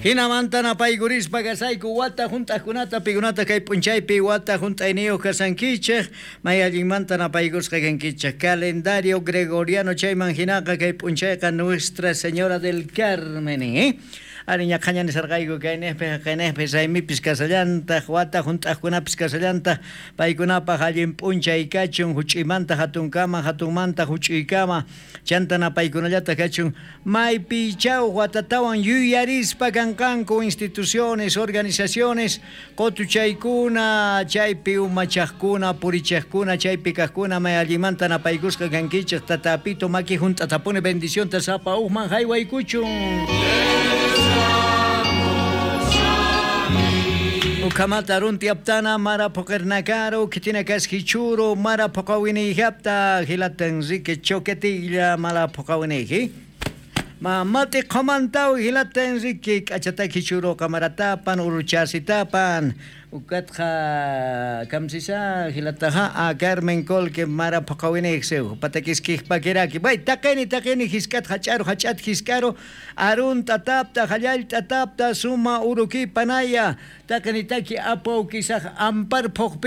Hinamanta napaykurispa kasayku wata hunt'aqkunata, pikunata kay p'unchaypi wata hunt'ayniyuq kasankichej, may allinmanta napaykusqa kankichej. Calendario gregoriano chayman hinaqa kay p'unchayqa Nuestra Señora del Carmen, ¿eh? Ari ñaqhaña nisarqayku kaynejpi haqaynejpi raymipis kasallantaq, wata hunt'aqkunapis kasallantaq, paykunapaq allin p'unchay kachun, huch'uymanta hatunkama, hatunmanta huch'uykama, chanta napaykunallataq kachun, maypichaw watatawan yuyarispa kanqanku instituciones, organizaciones, qotuchaykuna, chaypi umachaqkuna, purichaqkuna, chaypi kaqkuna, may allinmanta napaykusqa kankichej, tatapito maki hunt'atapuni bendicionta sapa uqman haywaykuchun. Ukamata runti aptana mara poqernakaro kitina kaskichuro mara poqawiniyjapta hilata Enrique Choquetilla mara poqawiniyji. Mamati qhomantaw hilata Enrique k'achata kichuro kamaratapan uruchasitapan ukatqa kamsisa hilataja a Carmen Colque mara poqawiniyjsew patakiskijpakiraki bay taqini taqini hiskat hach'aru hach'at hisk'aru arunta tapta hallallta tapta suma uruki panaya taqini taki apu kisaj ampar phuqpin.